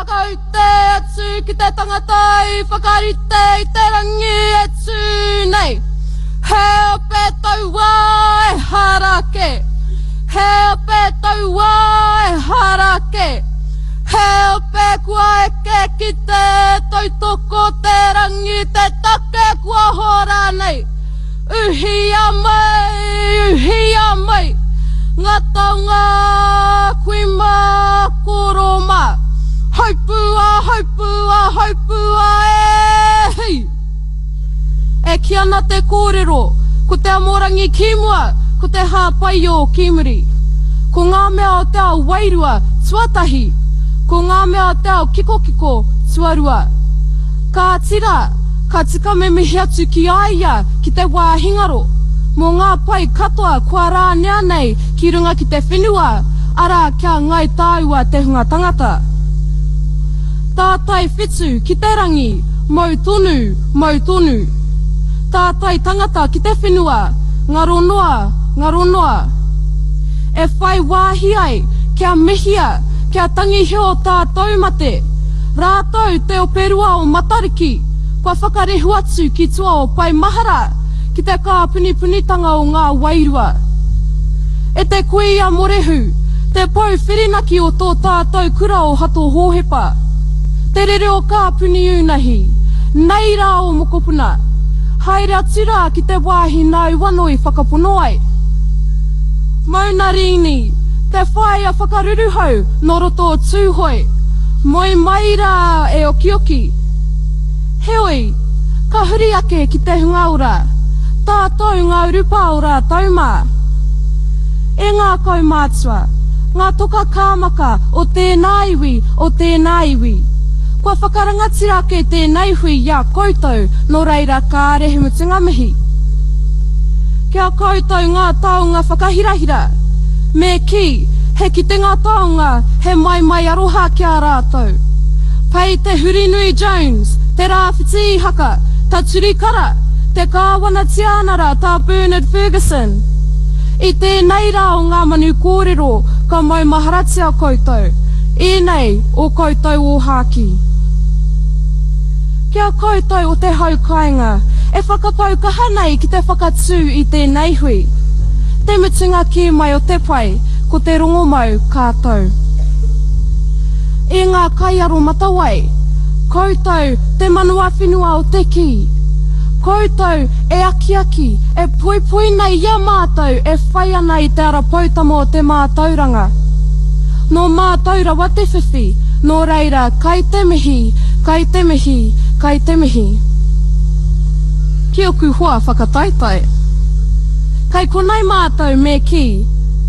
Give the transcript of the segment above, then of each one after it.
whakaute atu ki te tangata i whakarite i te rangi e tū nei. He ope tauā ehara kē. He ope tauā ehara kē. He ope kua eke ki te tautoko te rangi te take kua hora nei. Uhia mai, uhia mai, ngā taonga kui mā, koro mā. Haupua, haupua, haupua e hei! E kī ana te kōrero, ko te amorangi ki mua, ko te hāpaio ki muri. Ko ngā mea o te ao wairua, tuatahi, ko ngā mea o te ao kikokiko, tuarua. Kāti rā, ka tika me mihi atu ki a ia ki te wāhi ngaro, mō ngā pai katoa kua rānea nei ki runga ki te whenua, arā kia ngai tāua te hunga tangata. Tātai whetu ki te rangi, mau tonu, mau tonu. Tātai tangata ki te whenua, ngaro noa, ngaro noa. E whai wāhi ai kia mihia, kia tangihia o tātou mate. Rātou te operua o Matariki, kua whakarehu atu ki tua o Pae Mahara, ki te kāpunipunitanga o ngā wairua. E te kuia Morehu, te pou whirinaki o tō tātou kura o Hato Hōhepa, te rere o Kāpuniūnahi, nei rā ō mokopuna, haere atu rā ki te wāhi nāu anō i whakapono ai. Mauna Rīni, te whaea whakaruruhau nō roto o Tūhoe, Moe mai rā e okioki. Heoi, ka huri ake ki te hunga ora, tātou ngā urupā o rātou mā. E ngā kaumātua, ngā toka kāmaka o tēnā iwi, o tēnā iwi. Kua whakarangatira ake tēnei hui i a koutou, nō reira kāre he mutunga mihi. Ki a koutou ngā taonga whakahirahira, me kī, he kitenga taonga, he maimai aroha ki a rātou. Pei Te Hurinui Jones, Te Rāwhiti Ihaka, Taturi Kara, te Kāwana Tiānara Tā Bernard Fergusson. I tēnei rā o ngā manu kōrero ka maumaharatia koutou, ēnei o koutou ōhākī. Ki a koutou o te hau kāinga e whakapau kaha nei ki te whakatū i tēnei hui. Te mutunga kē mai o te pai, ko te rongomau ka tau. E ngā kaiaromatawai, koutou te manawa whenua o te kī. Koutou e akiaki, e poipoi nei i a mātou e whai ana i te ara poutama o te mātauranga. Nō mātou rawa te whiwhi, nō reira kai te mihi, kai te mihi, kai te mihi. Ki oku hoa whakataetae. Kai konei mātou me kī,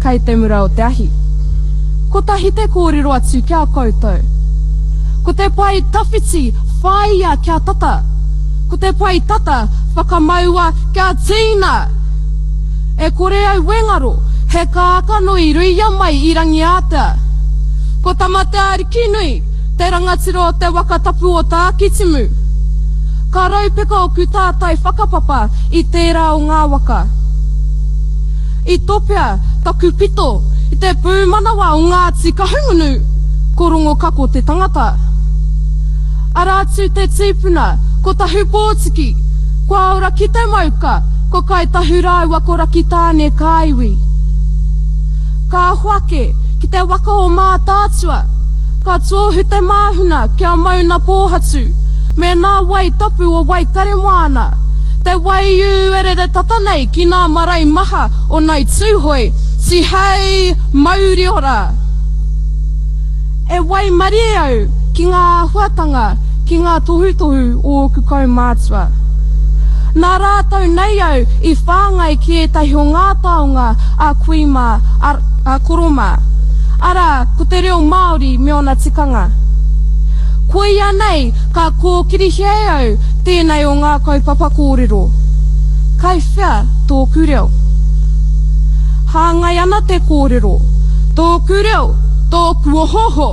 kai te mura o te ahi. Kotahi te kōrero atu ki a koutou. Ko te pae tawhiti whāia kia tata. Ko te pae tata whakamaua kia tīna! E kore au e ngaro, he kākano i ruia mai i Rangiātea. Ko Tamateaarikinui, te rangatira o te waka tapu o Tākitimu. Ka raupeka oku tātai whakapapa i tērā o ngā waka. I topea taku pito i te pūmanawa o Ngāti Kahungunu, ko Rongokako te tangata. Arā atu te tīpuna, ko Tahupōtiki, kua ora ki te mauka, ko Kāi Tahu rāua ko Rakitāne kā iwi. Ka hoake ki te waka o Mātaatua, ka tōhu te māhuna kia mauna pōhatu, me nā wai tapu o Waikaremoana, te waiū e rere tata nei ki nā marae maha o Nai Tūhoe, tihei mauri ora! E waimarie au ki ngā āhuatanga, ki ngā tohutohu o ōku kaumātua. Nā rātou nei au i whāngai ki ētahi o ngā taonga a kui mā, a, a koro mā. Arā, ko te reo Māori me ōna tikanga. Koia nei ka kōkirihia e au tēnei o ngā kaupapa kōrero. Kai whea tōku reo? Hāngai ana te kōrero, Tōku reo, tōku ohooho!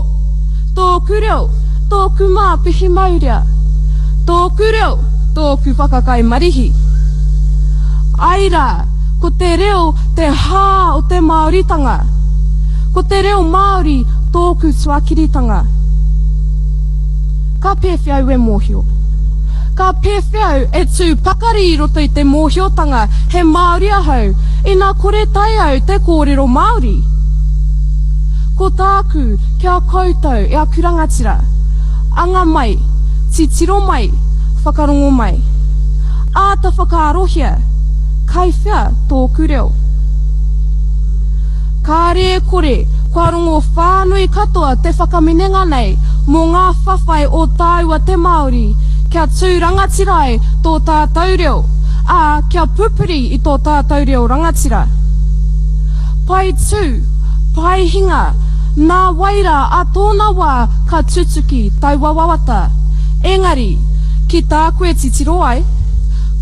Tōku reo, tōku māpihi maurea! Tōku reo, tōku whakakai marihi! Ai rā, ko te reo te hā o te Māoritanga. Ko te reo Māori tōku tuakiritanga. Ka pēwhea au e mōhio? Ka pēwhea au e tū pakari i roto i te mōhiotanga he Māori ahau ina kore tae au te kōrero Māori? Ko tāku ki a koutou e aku rangatira, anga mai, titiro mai, whakarongo mai. Āta whakaarohia, kai whea tōku reo? Kāre e kore, kua rongo whānui katoa te whakaminenga nei mō ngā whawhai o tāua te Māori kia tū rangatira ai tō tātou reo, ā, kia pupuri i tō tātou reo rangatira. Pai tū, pai hinga, nā wai rā ā tōna wā ka tutuki taua wawata. Engari, ki tāku e titiro ai,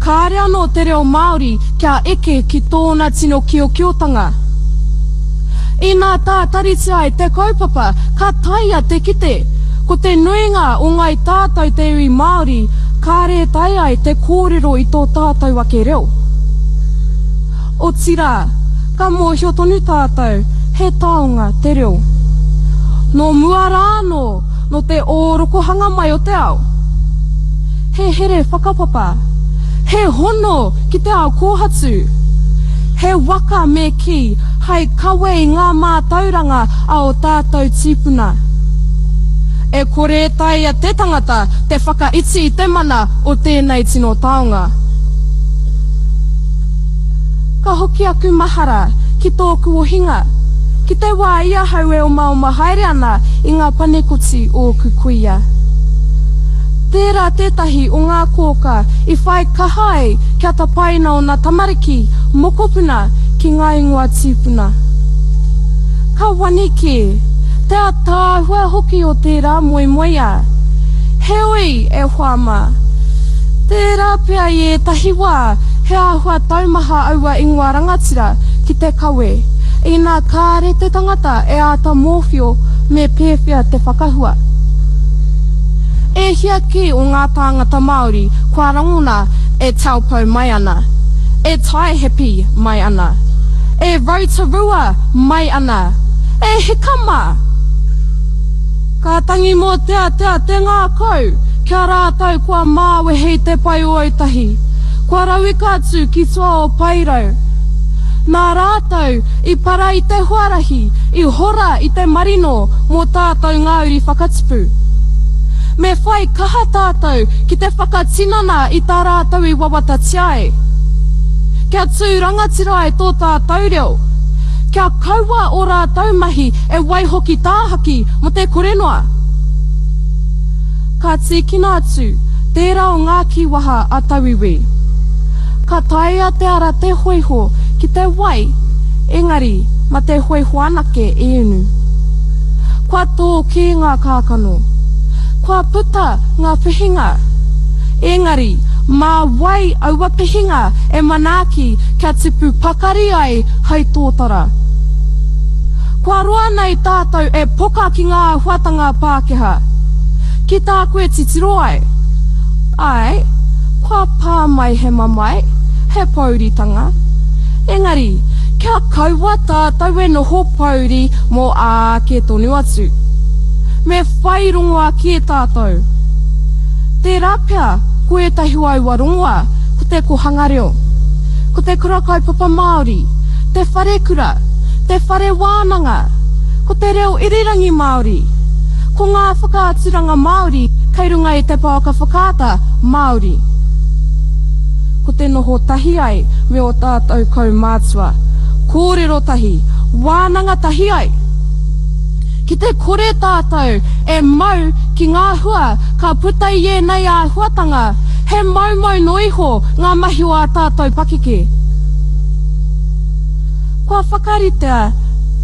kāre anō te reo Māori kia eke ki tōna tino kiokiotanga. Inā tātaritia ai te kaupapa, ka taea te kite, ko te nuinga o ngāi tātou te iwi Māori kāre e taea ai te kōrero i tō tātou ake reo. Otirā, ka mōhio tonu tātou he taonga te reo. Nō mua rā anō, nō te ōrokohanga mai o te ao. He here whakapapa. He hono ki te ao kōhatu. He waka me kī hai kawe i ngā mātauranga a ō tātou tīpuna. E kore e taea te tangata te whakaiti i te mana o tēnei tino taonga. Ka hoki aku mahara ki tōku ohinga, ki te wā i ahau e omaoma haere ana i ngā panekoti o ōku kuia. Tērā tētahi o ngā kōkā i whai kaha ai kia tapaina ōna tamariki, mokopuna, ki ngā ingoa tīpuna. Ka wani kē, te ataahua hoki o tērā moemoeā. Heoi, e hoa mā, tērā pea i ētahi wā he āhua taumaha aua ingoa rangatira ki te kawe, inā kāre te tangata e āta mōwhio me pēwhea te whakahua. E hia kē o ngā tāngata Māori kua rangona e Taupo mai ana, e Taihape mai ana, e Rotorua mai ana, e hika mā! Ka tangi mōteatea te ngākau ki a rātou kua māwehe i te pae o Autahi, kua rauika atu ki tua o Paerau. Nā rātou i para i te huarahi, i hora i te marino mō tātou ngā uri whakatipu. Me whai kaha tātou ki te whakatinana i tā rātou i wawatatia ai. Kia tū rangatira ai tō tātou reo. Kia kaua ō rātou mahi e waiho ki tāhaki mō te kore noa. Ka tīkina atu tērā o ngā kīwaha a tauiwi. Ka taea te ara te hoiho ki te wai, engari ma te hoiho anake e inu. Kua tō kē ngā kākano. Kua puta ngā pihinga. Engari, mā wai aua pihinga e manaaki kia tipu pakari ai hai tōtara? Kua roa nei tātou e poka ki ngā āhuatanga Pākehā. Ki tāku e titiro ai. Āe, kua pā mai he mamae, he pōuritanga. Engari, kia kaua tātou e noho pōuri mō āke tonu atu. Me whai rongoā kē tātou. Tērā pea, ko ētahi o aua rongoā, ko te kohanga reo, ko te kura kaupapa Māori, te wharekura, te whare wānanga, ko te reo irirangi Māori, ko ngā whakaaturanga Māori kei runga i te pouaka whakaata Māori. Ko te noho tahi ai me ō tātou kaumātua, kōrero tahi, wānanga tahi ai. Ki te kore tātou e mau ki ngā hua ka puta i ēnei āhuatanga, he moumou noa iho ngā mahi o ā tātou pakeke. Kua whakaritea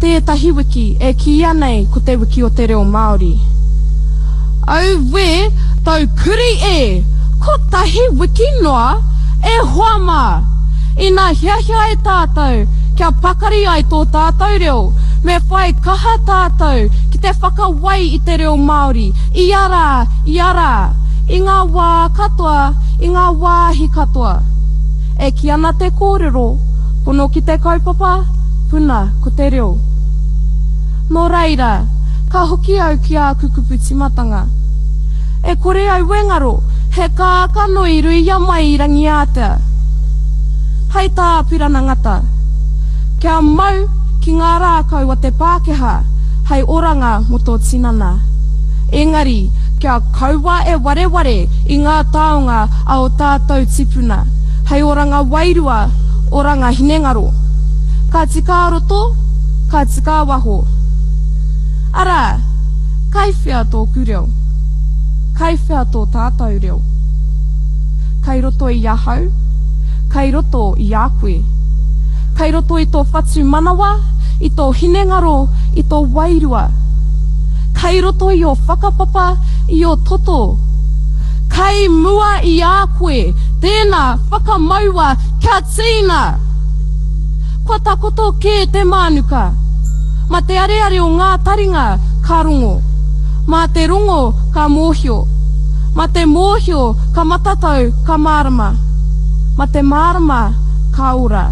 tētahi wiki e kīia nei ko Te Wiki o te Reo Māori. Auē, taukuri e! Kotahi wiki noa? E hoa mā! Ina hiahia ai tātou kia pakari ai tō tātou reo, me whai kaha tātou ki te whakawai i te reo Māori ia rā, ia rā, i ngā wā katoa, i ngā wāhi katoa. E kī ana te kōrero, Pono ki te kaupapa, puna ko te reo. Nō reira, ka hoki au ki āku kupu tīmatanga. E kore au e ngaro, he kākano i ruia mai i Rangiātea. Hai tā Apirana Ngata, Kia mau ki ngā rākau a te Pākehā hei oranga mō tō tinana. Engari, kia kaua e wareware i ngā taonga a ō tātou tipuna, hei oranga wairua, oranga hinengaro. Ka tika a roto, ka tika a waho. Arā, kai whea tōku reo? Kai whea tō tātou reo? Kai roto i ahau, kai roto i a koe. Kai roto i tō whatumanawa, i tō hinengaro, i tō wairua. Kai roto i ō whakapapa, i ō toto. Kai mua i a koe, tēnā, whakamaua kia tīna! Kua takoto kē te mānuka. Ma te areare o ngā taringa ka rongo. Mā te rongo ka mōhio. Ma te mōhio ka matatau ka mārama. Ma te mārama ka ora.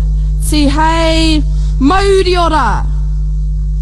Tihei mauri ora!